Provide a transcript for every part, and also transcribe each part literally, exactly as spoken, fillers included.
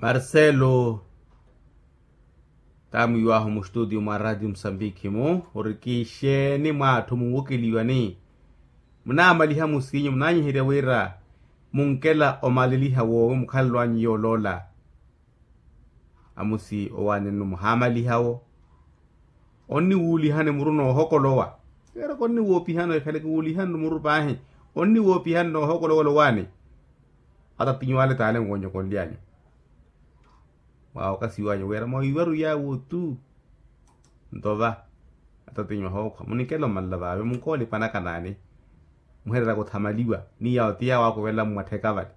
Marcelo, taamwiiwahu mustutio mwa ratio musambiki-mu ori kixeeni mwaatthu munwokeliwani? Munaamaliha musiinyu munaanyiherya wira munkela omaleliha woowi mukhalelo anyu yooloola. Amusi owaanennu muhaamalihawo. Onniwuulihani muru noohokolowa. Keeraka onniwoopihani ekhale kiwuulihanru muru paahi. Onniwoopihani noohokolowa olowaani. Atatinyu ale taale nkonyokonly'anyu. Mwaawokasiw'anyu wira mwawiiwaru yaawo tu. Nto va atatinyu ahookhwa munikela omanla vaave munkoolipa anakanaani. Muhereraka othamaliwa ni yaawo ti yaawo akuvela mmwattheka vale.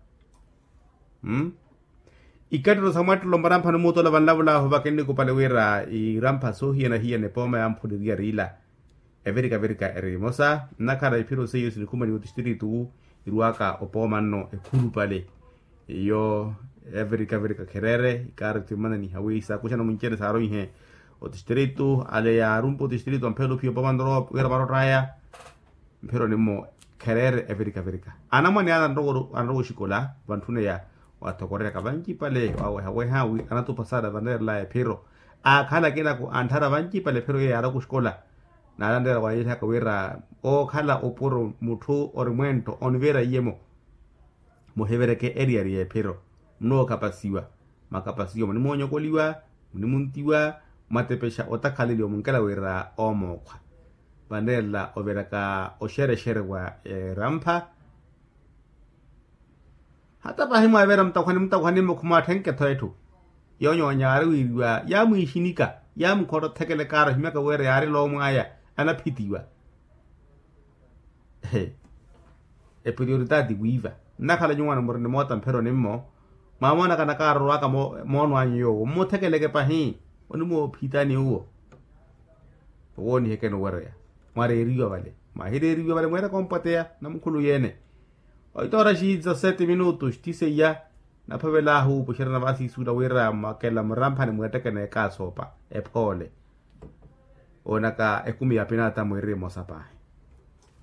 Ikatto sa mwattelo murampha ni muutola vanlavulaahu vakinnikupale wira irampha soohiyana-hiyana epooma yamphuleriya riila. Evirika-virika eri emosa nnakhala iphiro seiyo sinikhumaniwa otistritu irwaka opooma nno ekhulupale. Iyo evirika-virika khereere ikaari timananiha wi saakuxana muncene saaroihe otistritu ale yaarumpa otistritu amphela ophiya opooma nno wira varott'aya. Mphiro nimmo khereere evirika-virika anamwane ale anrowa oxikola vantthune ya wathokoreryaka vancipale waaweha-weha wi anatupa saada vanreerelaya ephiro. Aakhala akinaku antthara vancipale ephiro iyo yaaroka oxikola. Naale anreera wayiilihaka wira ookhala opuro mutthu ori mwenttho onivira iye-mo. Muhivereke eriyari y'ephiro munookhapasiwa. Makapasiwa munimoonyokoliwa, munimuntiwa, mwatepexa otakhaleliwa munkela wira oomookhwa. Vanreerela oviraka oxerexere wa erampha. Hata paahi mwaavira mutakhwani mutakhwani mmo khumwaatthenke-tho etthu. Yoonyoonya yaari wiiriwa yaamwiixinika. Yaamukhotta othekela ekaari ohimyaka wira yaari loomw'aya anaphitiwa. Eprioritaati wiiva nnakhala nyuwo anamurina emoota mphiro nimmo. Mwaamoonaka anakaari orowaka moono anyu yoowo mmuthekeleke pahi. Onimoophitani uwo. Owoonihekeni owereya mwareeriwa vale mwahireeriwa vale mweeraka ompwateya namukhulu yeene. Oitoora xiiza sete minutu xithiseiya. Naphovelaahu opuxerana vaasiisuula wira mwakela muramphani mweettekene ekaasoopa ephoole. Oonaka ekumi ya pinata mwiiri emosa paahi.